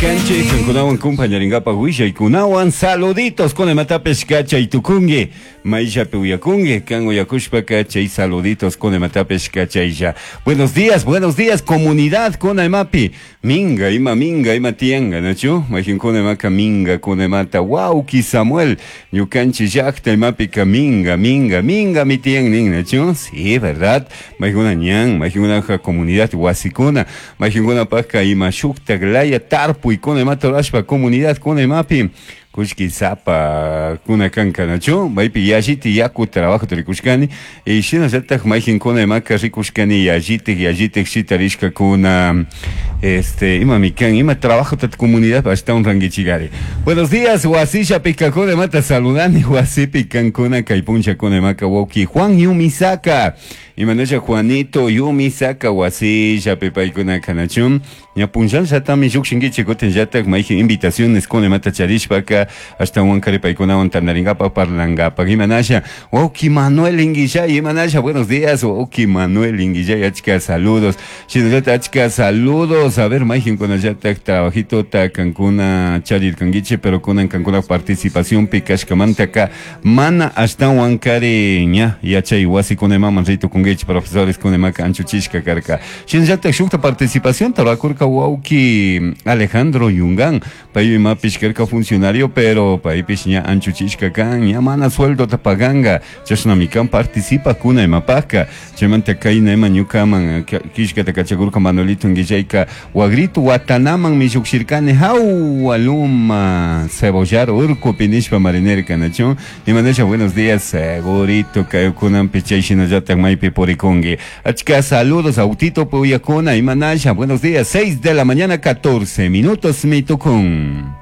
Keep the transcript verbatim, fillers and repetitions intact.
Kanchik kankunawan kumpañarinkapak willaykunawan saluditos kunamatapish kachay tukunki mayllapi uyakunki kan uyakushpaka chay saluditos kunamatapish kachaylla. Buenos días, buenos días, comunidad kunamapi minga ima minga ima tiyanka, nachu mayqinkuna imaka minga kunamata wawki Samuel ñukanchik llaqta imapika minga minga minga mi tiyan nin, nachu? Sí, verdad. Mayqikuna ñan mayqinkunaka comunidad wasikuna mayqinkunapaqka ima shuktak laya tarpuykuna imata rurashpa comunidad kuna imapi kullki sapa kuna kanka, nachu maypi yalliti yaku trabajo rikushkani y shinallatak mayqinkuna imaka rikushkani yallitik yallitik shitarishkakuna este imami kan ima trabajo tat comunidad ashtawan rankichikari. Buenos días, wasilla pikakuna imata saludani wasipi kankuna kay punchakuna imaka wawki Juan Yumisaka imanasha Juanito Yumisaka wasillapi paykuna kanachun ña punllallatami llukshinkichik kutinllatak mayjin invitaciones kuna imata charishpaka ashtawan kari paykunawan tantarinkapak parlankapak. Imanasha wawki Manuel Inguillay, imanasha? Buenos días, wawki Manuel Inguillay, achka saludos, shinallatak achka saludos. A ver, mayjinkunallatak trabajitota kankuna charirkankichik pero kunan kankuna participación kashkamantaka mana ashtawan kari ña yachay wasikuna imaman ritukunkichik profesores kuna imaka anchuchishka karka. Shinallatak shukta participación rurakurka wawki Alejandro Yungan, pay imapish karka funcionario pero paypish ña anchuchishka kan ña mana sueldota paganka chashnami kan participakuna imapaka chaymanta kayna ima ñukaman killkata kachakurka Manuelito Inguillayka wagritu watanaman lluqshirkani hawa luma cebollar urkupi nishpa marinirka, nachu? Imanasha? Buenos días, segurito kaykunanpi chay shinallatak maypi purikunki. Achka saludos autito puyakuna imanasha? Buenos días, seis de la mañana catorce minutos mitukun.